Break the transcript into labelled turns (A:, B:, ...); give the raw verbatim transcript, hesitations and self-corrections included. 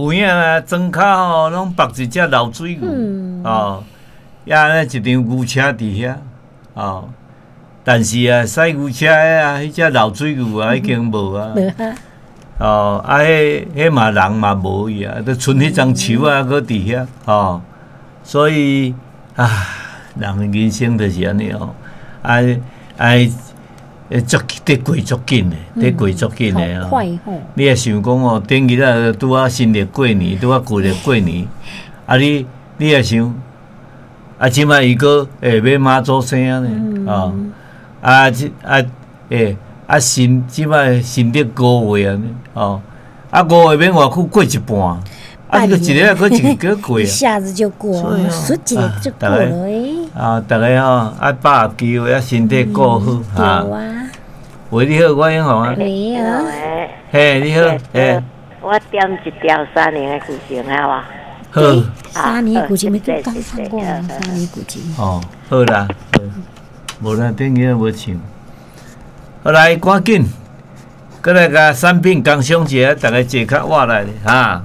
A: 有影啊，庄跤吼攏縛一隻老水牛，哦，抑呢一場牛車佇遐，哦，但是啊，駛牛車的啊，彼隻老水牛啊已經無啊，哦，啊，彼彼嘛人嘛無去啊，就賰彼欉樹仔閣佇遐，哦，所以啊，人的人生就是按呢哦，啊啊，足佇過足緊的，佇過足緊的哦。你若想講哦，頂日啊拄仔新曆過年，拄仔舊曆過年，啊你你若想，啊這擺伊閣會欲媽祖生呢，哦，啊這啊欸啊新這擺新曆五月啊，哦，啊五月欲偌久過一半，啊這個一个閣一個過啊，
B: 一下子就過，倏一下就過了欸。
A: 啊，逐家吼愛把握機會，啊身體顧好哈。喂，你好，我英雄啊。
B: 你好。
A: 嘿，你好，嘿。
C: 我點一條三年的古琴，好無？
A: 好。
B: 三年的古琴，沒剛唱過三年古琴。
A: 哦，好啦，無啦，頂日無唱。好來，趕緊，閣來共產品工商一下，逐家坐較倚來哈。